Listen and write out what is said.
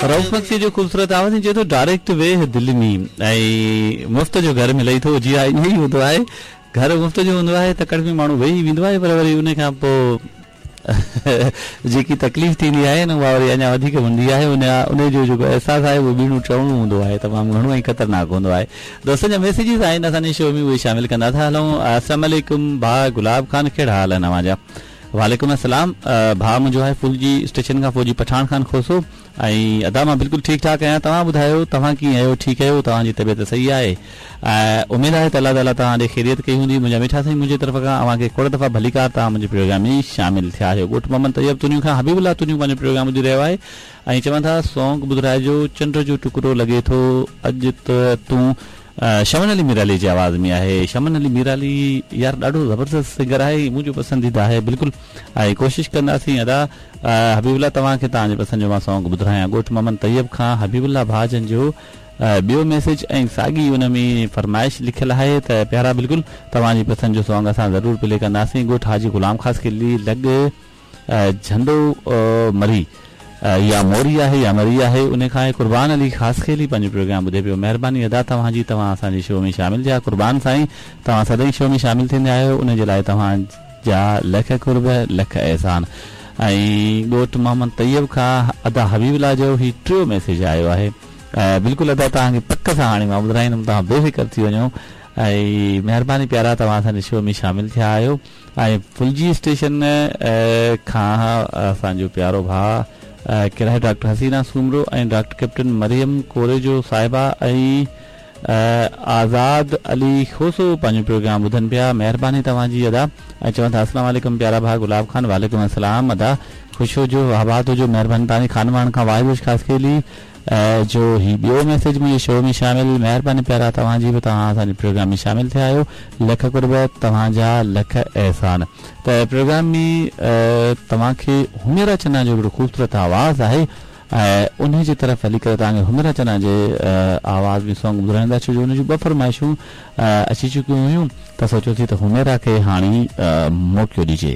رئوف مگسيء جو خوبصورت آواز ائين چئي ٿو ڊائريڪٽ ويهه دل ۾ ۽ مفت جو گهر ملئي ٿو جي ها ائين ئي هوندو آهي گهر مفت جو هوندو آهي تڪڙ ۾ ماڻهو ويهي ويندو آهي پر وري ان کان پوء جيڪي تڪليف ٿيندي آهي نه اها وري اڃا وڌيڪ هوندي آهي ان ان جو جيڪو احساس آهي اهو ٻيڻو ٽيڻو هوندو آهي تمام گهڻو ۽ خطرناڪ هوندو آهي دوستن جا ميسيجز آهن اسان جي شو ۾ اهي شامل ڪندا ٿا هلون السلام عليڪم ڀاء گلاب خان ڪهڙا حال آهن اوهان جا وعليڪم السلام ڀاء منهنجو آهي ڦلجي اسٽيشن کان فوجي پٺاڻ خان کوسو ۽ ادا مان بلڪل ٺيڪ ٺاڪ آهيان توهان ٻڌايو توهان ڪيئن آهيو ٺيڪ آهيو توهان جي طبيعت صحيح آهي اميد آهي ته الله تعالي توهان ڏي خيريت ڪئي هوندي منهنجا مٺا سائين منهنجي طرف کان اوهان کي کوڙ دفعا ڀليڪار توهان منهنجي پروگرام ۾ شامل ٿيا آهيو ڳوٺ محمد طيب تنيو کان حبيب الله تنيو پنهنجو پروگرام ٻڌي رهيو آهي ۽ چون ٿا سونگ ٻڌرائجو چنڊ جو ٽڪرو لڳي ٿو اڄ ته تون شمن علي ميرالي جي آواز ۾ آهي شمن علي ميرالي يار ڏاڍو زبردست سنگر آهي منهنجو پسنديده آهي بلڪل ۽ ڪوشش ڪنداسين ادا حبيب الله توهان کي توهان جي پسند جو مان سونگ ٻڌرايان ڳوٺ محمد طيب کان حبيب الله ڀاء جن جو ٻيو ميسيج ۽ ساڳي ان ۾ فرمائش لکيل آهي ته پيارا بلڪل توهان جي پسند جو سونگ اسان ضرور پلي ڪنداسين ڳوٺ حاجي غلام خاصخيلي لڳ جهنڊو مري يا موري آهي يا مري آهي انهي کان آهي قربان علي خاصخيلي پنهنجو پروگرام ٻڌي پيو مهرباني ادا توهان جي توهان اسان جي شو ۾ شامل ٿيا قربان سائين توهان سدائين شو ۾ شامل ٿيندا آهيو انهي جي لاء توهان جا لک قرب لک احسان ۽ ڳوٺ محمد طيب کان ادا حبيب الله جو هي ٽيو ميسيج آيو آهي بلڪل ادا توهان کي پڪ سان هاڻي مان ٻڌرائيندم توهان بي فڪر ٿي وڃو ۽ مهرباني پيارا توهان اسان جي شو ۾ شامل ٿيا آهيو ۽ ڦلجي اسٽيشن کان اسان جو پيارو ڀاء ڪير آهي doctor Hasina Soomro ۽ doctor captain Maryam Korejo صاحبه ۽ آزاد علي کوسو پنهنجو پروگرام ٻڌن پيا مهرباني توهان جي ادا ۽ چون ٿا اسلام عليڪم پيارا ڀاء گلاب خان وعليڪم السلام ادا خوش هجو آباد هجو مهرباني توهان جي خانواهڻ کان واحد بخش خاصخيلي جو هي ٻيو ميسيج منهنجي شو ۾ شامل مهرباني پيارا توهان جي به توهان اسان جي پروگرام ۾ شامل ٿيا آهيو لک قرب توهان جا لک احسان ته پروگرام ۾ توهان کي حميرا چنا جو هڪڙو خوبصورت آواز آهي ۽ انهي جي طرف هلي ڪري توهان کي حميرا چنا جي آواز ۾ سونگ ٻڌرائيندا ڇو جو ان جون ٻه فرمائشون اچي چڪيون هيون ته سوچيوسين ته حميرا کي هاڻي موقعو ڏجي.